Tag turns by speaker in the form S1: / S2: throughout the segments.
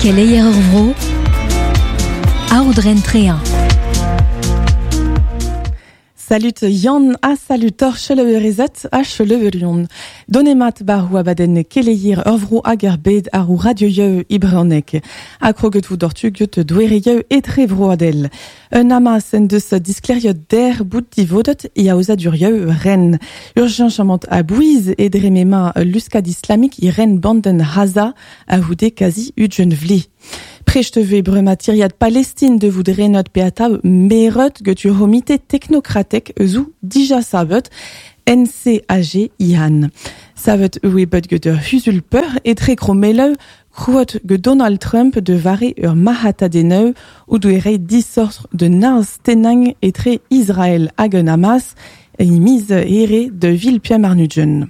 S1: Keleier ur vro, Aodren Treañ.
S2: Salut Yann ha salut hor cheleurezed ha cheleurion. Donemat bar abadenn keleier ur vro hag ar bed ar radio i brezhoneg. Ha kroget vo doc'htu get doereioù etrevroadel. Un Hamas en deus disklêriet der bout divodet e aozadurioù ren. Ur cheñchamant a-bouez e dre m'emañ luskad islamik i ren bandenn Ghaza a-c'houde kazi ugent vlez. Prest e vez bremañ tiriad Palestin de vout renot pe atav meret get ur c'homite teknokratek eus ou dija savet NCAG Ihan. Savet e oe bet get ur c'huzul-peur etre krommelloù krouet get Donald Trump de vare ur marc'hatadennoù o doe reiñ disoc'h d'un harz-tennañ etre Israel hag an Hamas e miz Here 2025.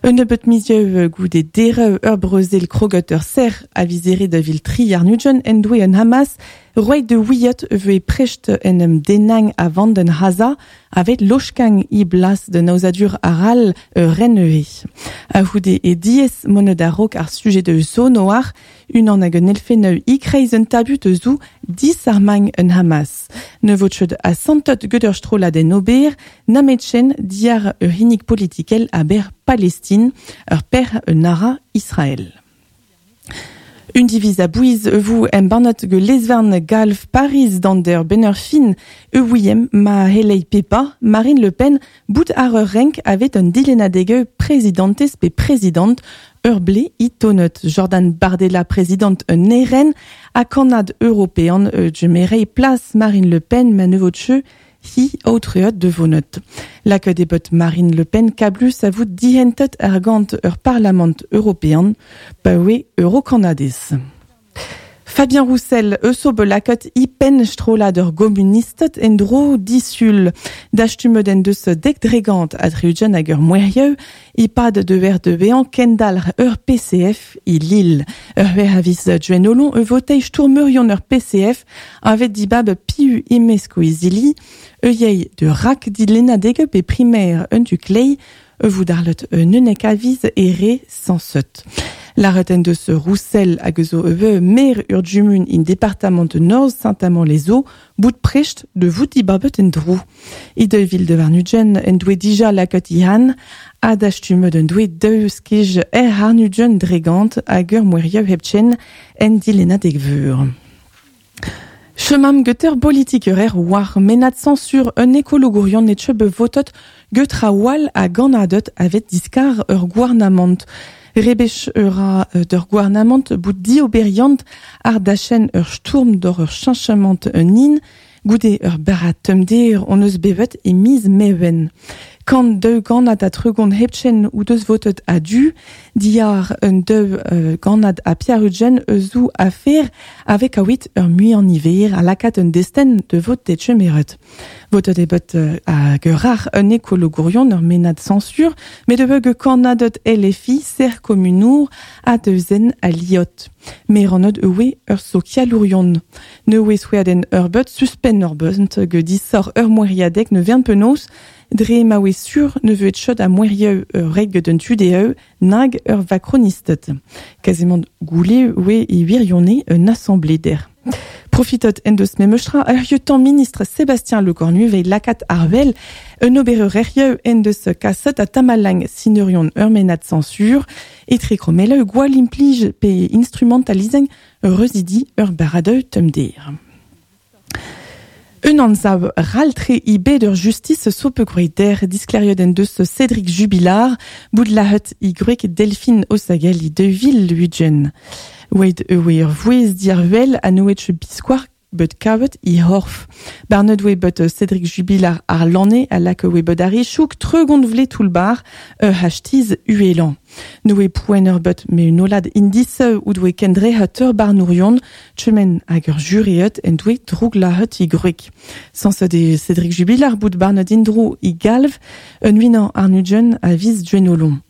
S2: Un nebeut mizioù goude derev ur brezel kroget ur serr a viz Here 2023 en doe an Hamas roet de ouiet e voe prest en em dennañ a vandenn Ghaza avet loskañ e blas d'un aozadur arall ur ren-neuze. A-c'houde e diaes monet a-raok ar sujed eus zo noar, unan hag un elfennoù e-kreiz un tabut eus zo disarmañ un Hamas. Ne vo ket asantet get ur strollad en ober, nametchen diàr ur c'hinnig politikel a-berzh Palestin, ur per un ara Israel. Un diviz a-bouez e vo embannet get lez-varn galv Pariz d'an der benn ur fin e ouiemp ma c'helley pe pas Marine Le Pen bout àr ur renk avet un dilennadeg prezidantez pe prezidant ur blez i tonet. Jordan Bardella, prezidant un RN ha kannad european djemerey plas Marine Le Pen ma ne vo tcheu hi aotreet de vonet. Lakaet eo bet Marine Le Pen kablus a vout dihentet argant ur Parlamant european pa oe eurokannadez. Fabien Roussel eus o bet lakaet e penn strollad ur gomunisted en-dro disul. Dastumet en deus dek% a 60 hag ur mouezhioù e-pad deuer de vezañ kendalc'h ur PCF e Lille. Ur c'hwec'h a viz Gwenholon e votei stourmerion ur PCF avet dibab piv e-mesk o izili, e yey de rak dilennadeg pe primaire un tu klei e vout arlet un unnek a viz ere sañset. Lâret en deus Roussel hag eus o eo maer ur gumun in departamant Norzh Saint-Amand-les-Eaux bout prest de vout dibabet en dro. E 2022 en doe dija lakaet Ihan ha dastumet en doe daou skej er arnugent dregant hag ur mouezhioù hepken en dilennadeg veur. Chemam get ur politiker war mennad sañsur un ekologourion e teu bet votet get a-walc'h a gannaded avet diskar ur gouarnamant. Rebech ur ra d'ur gouarnamant bout dioberiant àr dachenn ur stourm doc'h ur cheñchamant un hin goude ur barrad tommder hon eus bevet e miz Meven. Kant daou gannad ha 30 hepken o deus votet a-du, diàr un daou gannad ha pevar-ugent eus zo afer a vez kaouit ur muiañ-niver a lakaat un destenn de vot degemeret. Votet eo bet hag ur rac'h un ekologourion ur mennad sañsur, met e vo kannaded LFI ser komunour ha deus-en aliot. Merannet e oe ur sokialourion. Ne oe souezhadenn ur beut suspenn ur beut get disoc'h ur mouezhiadeg ne vern penaos dre ma oe sur ne vo chet a mouezhioù ur reg get un tu dezho nag ur vakronisted. Kazimant goulle oe e wirionez un assemblée der. Profitet en deus memestra ur lieutenant ministre Sébastien Lecornu veit lakaat àr wel un obereur erioù en deus kaset a tamalang sineurion ur mennad sañsur etre krommelloù gwall implij pe instrumentalizañ reuzidi ur barradoù tommder. Un anzav ral-tre e bed ur justis so bet gwraet dec'h disklêriet en deus Cédric Jubilard bout lazhet e gwreg Delphine Osagel e 2020. Oeit e oe ur vouezh diàr-wel ha ne oe ket biskoazh bet kavet e c'horf. Barnet oe bet Cédric Jubilard àr lanne ha lakaet oe bet àr e chouk 30 vlez toull-bac'h ur c'hastiz uhelañ. Ne oe poent ur bet me un hollad indisoù o doe kendrec'het ur barnourion tremen hag ur jureed en doe drouglazhet e gwreg. Sañset eo Cédric Jubilard bout barnet en-dro e galv un unan àrn-ugent a viz Gwenholon.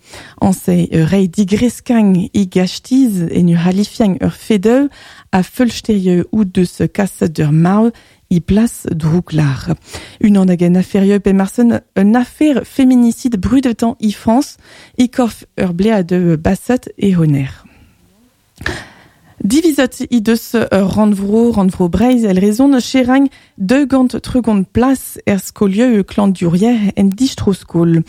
S2: Añse reiñ digreskañ e gastiz en ur c'halifiañ ur fedoù ha feulsterioù o deus kaset d'ur marv e plas drouglazh. Unan ag an aferioù pe marsen un afer féminicide brudetañ e Frañs e korf ur blead baset e honer. Divizet he deus ur rannvro, rannvro Breizh el rezon cheragn 230 plas er skolioù klañvdiourier en distro-skol.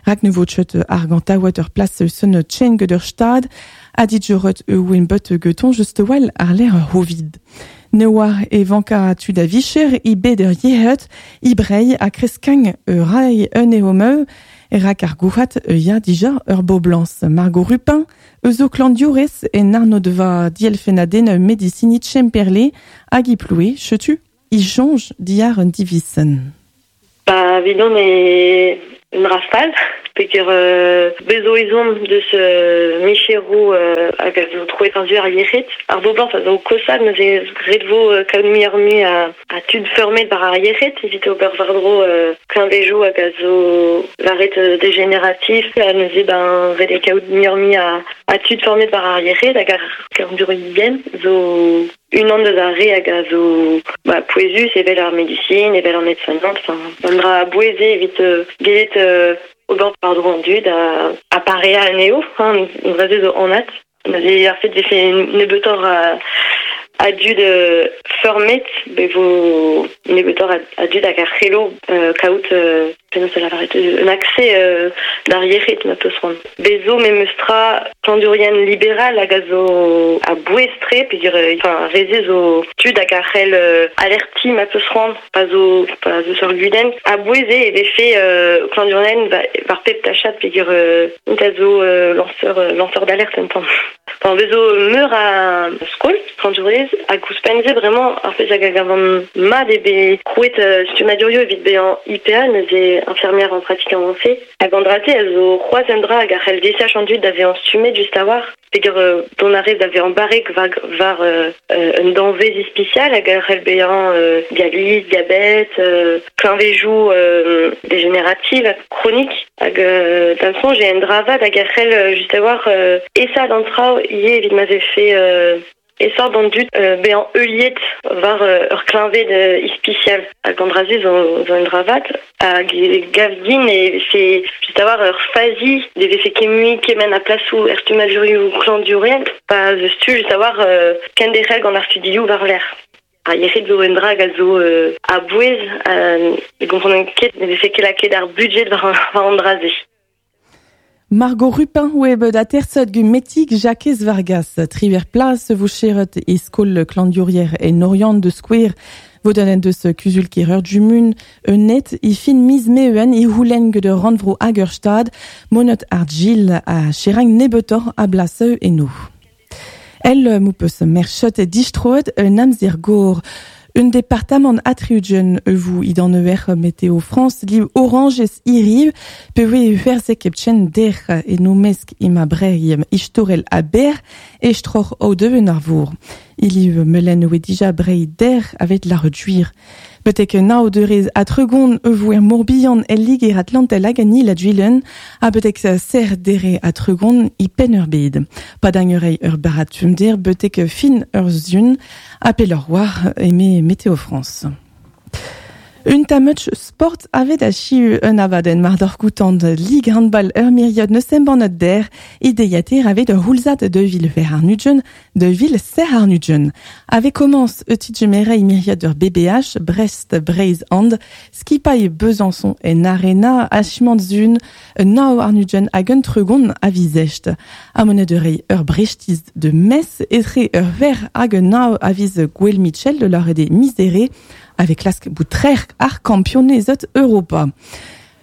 S2: Rak ne vo ket argantaouet ur plas eus un tchen get ur stad ha dijoret e bet geton just well ar lec'h ur c'hovid. Ne oar e vanka tud a vicher i bet ur yec'hed, i brei ha kreskagn ur rai un eo meu, rak ar gouhat ya dija ur boblans. Margot Rupin, eus o klandiourez en arnodva dielfenaden medicinit Chemperle hag i ploue, chetu, i jonge diar un divisen.
S1: Ba, vidon e un rafal, peger bezo ezhomm deus micheroù hag a zo troet war-zu ar yec'hed. Ar boblañs a zo kosad neuze ret vo kaout muioc'h-mui a tud feurmet war ar yec'hed evit ober war-dro kleñvejoù hag a zo lâret dégénératif ha neuze ben ret eo kaout muioc'h-mui a tud feurmet war ar yec'hed hag ar glañvdiourien zo unan deus ar re hag a zo ba, pouezus evel ar medisin, evel an aide-soignant, enfin un dra a-bouez eo evit gellet ober war-dro an dud ha pareañ anezho, hein, an dra-se zo anat. Neuze ar fait vefe nebeutoc'h a dud feurmet, be vo nebeutoc'h a dud hag a c'hello kaout penaos da lavaret un accès d'ar yec'hed ma peus c'hoant. Bez zo memes tra klañvdiourien liberal hag a zo a-bouez-tre peogwir enfin ar re-se zo tud hag a c'hell alertiñ ma peus c'hoant pa zo pa zo ur gudenn. A-bouez eo e vefe klañvdiourien war pep tachad peogwir int a zo lañseur lañseur d'alerte un tamm. Enfin, bez zo meur a skol klañvdiourez hag ouzhpenn-se bremañ ar pezh hag a gavan mat eo bet krouet stummadurioù evit bezañ IPA neuze infirmière en pratique avancée. Hag an dra-se a zo c'hoazh un dra hag a c'hell desach an dud da vezañ stummet just a-walc'h peogwir dont a rez da vezañ barrek war war un danvez ispisial hag a c'hell bezañ dialyse, diabet, kleñvejoù dégénératif ha kronik. Hag d'am soñj eo un dra vat hag a c'hell just a-walc'h aesaat an traoù ivez evit ma vefe aesoc'h d'an dud bezañ heuliet war ur kleñved ispisial. Hag an dra-se zo zo un dra vat. Hag e gav din e vefe just a-walc'h ur fazi ne vefe ket mui kement a plasoù er stummadurioù klañvdiourien pa 'z eus tu just a-walc'h kenderc'hel gant ar studioù war-lerc'h. Ar yec'hed zo un dra hag a zo a-bouez ne gomprenan ket ne vefe ket lakaet ar budjed war an dra-se.
S2: Margot Rupin oe bet aterset gant Metig Jakez Vargas. Triwec'h plas vo cheret e skol klañvdiourier en Oriant de skouer. Vodenn en deus kuzul-kêr ur jumun un net e fin miz Meven e c'houlenn gant ur rannvro hag ur stad monot ar Gil ha cheragn nebeutoc'h a blaseu eno. El m'ho peus merchet distroet un amzer gor. Un departamant atriugen vous idan eur Météo France liv oranges iriv pe oe huerzek epchen der e no mesk ima brei istorel a ber estroc'h o deuen ar vor. Iliv melen oe dija brei der avet la reduir. Betek nav deurez ha tregont e vo er Morbihan el Liger Atlantel hag an il a Duilen, ha betek ser dere ha tregont e penn ur bed. Padagn ur ur barrad fumder betek fin ur zun, ha pelloc'h war eme Météo France. Un tammutch sport avet achiu un abadenn mar doc'h goutant Ligue handball ur miriad neus embannet der ideiater avet ur houlzad de vil ver ar nudjen de vil ser ar nudjen. Ave commence e tidjemere miriad ur BBH Brest Breizh and skipailh Besançon en arena achimant zun nao ar nudjen hag un tregon a vizest. Amonet ur ur brechtiz de Metz etre ur ver hag un nao a viz Gwel Mitchell de leur de misere avec klask boutrer ar kampionezet Europa.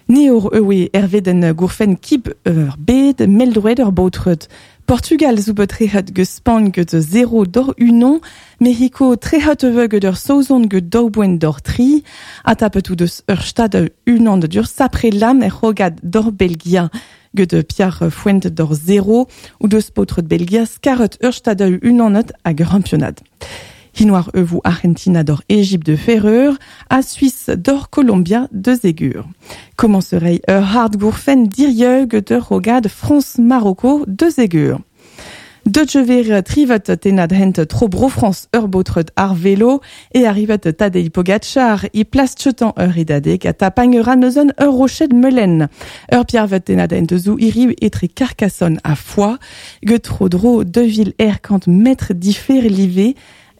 S2: Neor ewe erveden gourfen kip ur bed meldroet ur baotreut. Portugal zo bet trehet ge Spagn get 0 d'or unon, Mexico trehet ewe get ur saozon get daou boent d'or tri, a tapet ou deus ur stad unan de dur sapre lam er rogad d'or Belgia get Pierre Fuente d'or 0 ou deus paotreut Belgia skaret ur stad unanet hag ur championad. Hinoar evo Argentina d'or Égypte de Ferreur, a Suisse d'or Colombia de Zégur. Commencerait ur hard gourfen dirieu de rogad France-Marocco de Zégur. Deut ver trivet tenad hent tro Bro-France ur baotred ar velo e arrivet Tadej Pogacar i plas chetan ur redadeg a tapagn ra neuzen ur roched melen. Ur piervet tenad hent zou iriv etre Carcassonne a Foix, get tro dro 2000 er kant metr difer live,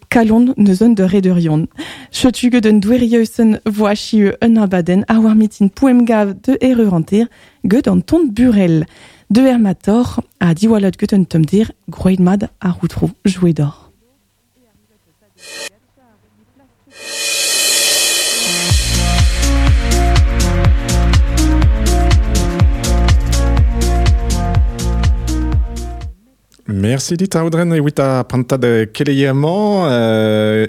S2: kalon neuzen de rederion. Chetu get un douerieusen voachieu un abaden a war mitin poemgav de ereuranter get an ton burel. De Hermator a diwalot get un tomdir groet mad a routrou joué d'or.
S3: Merci dit Audren evit a prantad keleier-mañ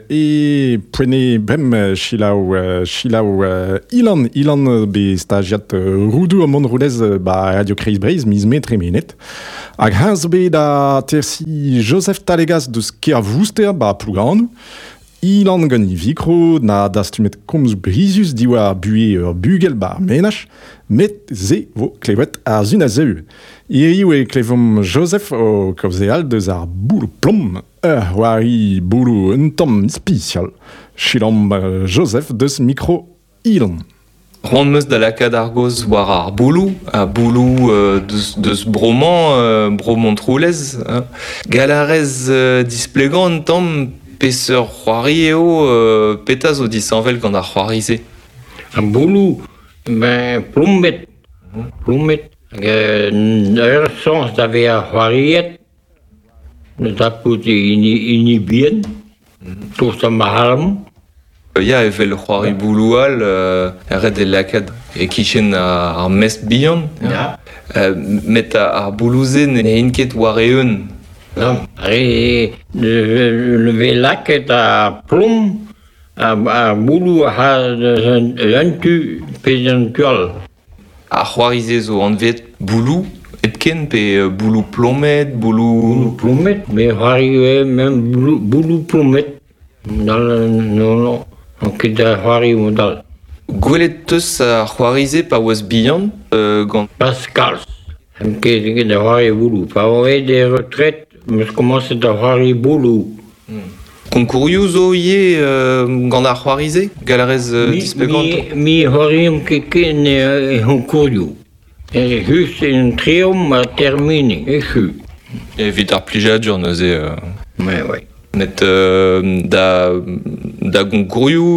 S3: e poene brem chilaou chilaou Ilan Ilan be stagiat roudou am roulez ba Radio Kreiz Breiz miz me tremenet. Hag heñs zo bet da tersi Joseph Talegas deus Kervouster ba Plouganou. Ilan gant i vikro na dastumet komz brizus diwar buhe ur bugel ba ar menaj, met ze vo klevet ar zun a zeu. Hiriv e klevomp Joseph o kaozeal deus ar boulou plom, ur c'hoari boulou un tamm ispisial. Chilamp Joseph deus mikro Ilan.
S4: C'hoant 'm eus da lakaat ar gaoz war ar bouloù, ar bouloù deus bro-mañ, bro Montroulez. Gall a rez displegañ un tamm peseurt c'hoari eo, petra zo disheñvel gant ar c'hoari-se?
S5: Ar bouloù, ben plombet, plombet. Hag ur sañs da vezañ c'hoariet, da dapout hini, hini bihan, tost ma c'halomp.
S4: Ya, evel c'hoari bouloù all, ret eo lakaat e-kichen ar mestr bihan.
S5: Ya.
S4: Met ar bouloù-se n'int ket war-eeun.
S5: Non, re le vez lakaet ar plom, ar bouloù a un tu pe un tu all.
S4: Ar c'hoari-se zo anvet bouloù hepken pe bouloù plomet, bouloù...
S5: Bouloù plomet, me c'hoari ivez même bouloù plomet. Non, non, on ket da c'hoari mod-all.
S4: Gwelet 'teus ar c'hoari-se pa oas bihan gant...
S5: Pas kalz. N'em ket da c'hoari bouloù. Pa oan aet er retret, 'm eus komañset da c'hoari bouloù.
S4: Konkourioù zo ivez gant ar c'hoari-se? Gall a rez displegañ?
S5: Mi c'hoariomp ket ken e c'honkourioù. Just en treomp ha termine, echu.
S4: Evit ar plijadur neuze.
S5: Ouais, ouais.
S4: Met da, da gonkourioù...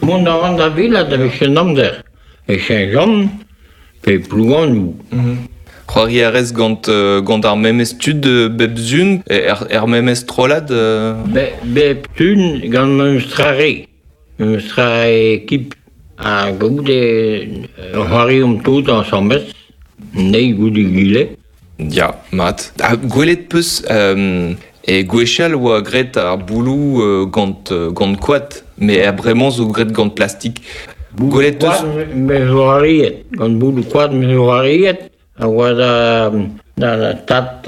S5: Mont a ran da welat da vez an amzer. E Saint-Jean pe Plouganou.
S4: C'hoari a rez gant, gant ar memes tud bep sun, er, er memes strollad
S5: Bep sun gant memes tra re. Memes tra ekip. Ha goude c'hoariomp tout ensemble, nei goude egile.
S4: Ya, mat. Ha gwelet 'peus e gwechall oa graet ar bouloù gant, gant koad, met er bremañ zo graet gant plastik. Gwelet 'teus...
S5: Me zo arriet, gant bouloù koad me zo arriet, a oa da, da tad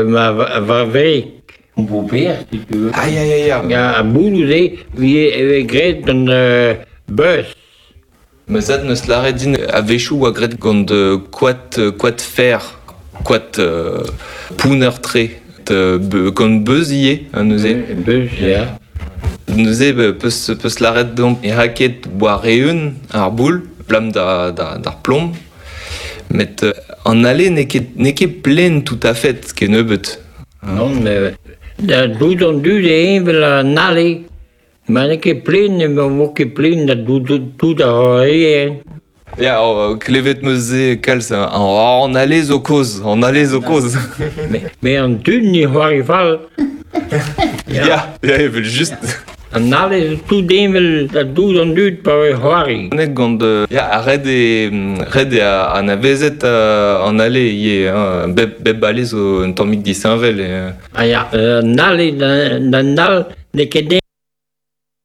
S5: ma va wreg. Beau-père, si tu veux.
S4: Ah ya ya ya.
S5: Ar bouloù-se e vez graet gant beuz.
S4: Ma zad 'neus lâret din a-wechoù oa graet gant koad koad fer, koad pounner-tre, gant beuz ivez neuze.
S5: Beuz, ya.
S4: Neuze peus peus lâret deomp e ra ket war-eeun ar boul, 'blam da d'ar plom. Met an ale n'eo ket n'eo ket plen tout à fait kennebeut.
S5: Non, mais da dout an dud eo evel an ale. Ma n'eo ket plen, ne vo ket plen da tout ar re.
S4: Ya, klevet 'meus se kalz an ale zo kozh, an ale zo kozh.
S5: Mais an dud ne c'hoari fall.
S4: Ya, ya, evel just.
S5: An ale zo tout heñvel da dout an dud pa vez c'hoari.
S4: Gant ya, ret eo ret eo anavezet an ale ivez hein. Bep bep ale zo un tammig disheñvel.
S5: Ah ya, an ale d'an al n'eo ket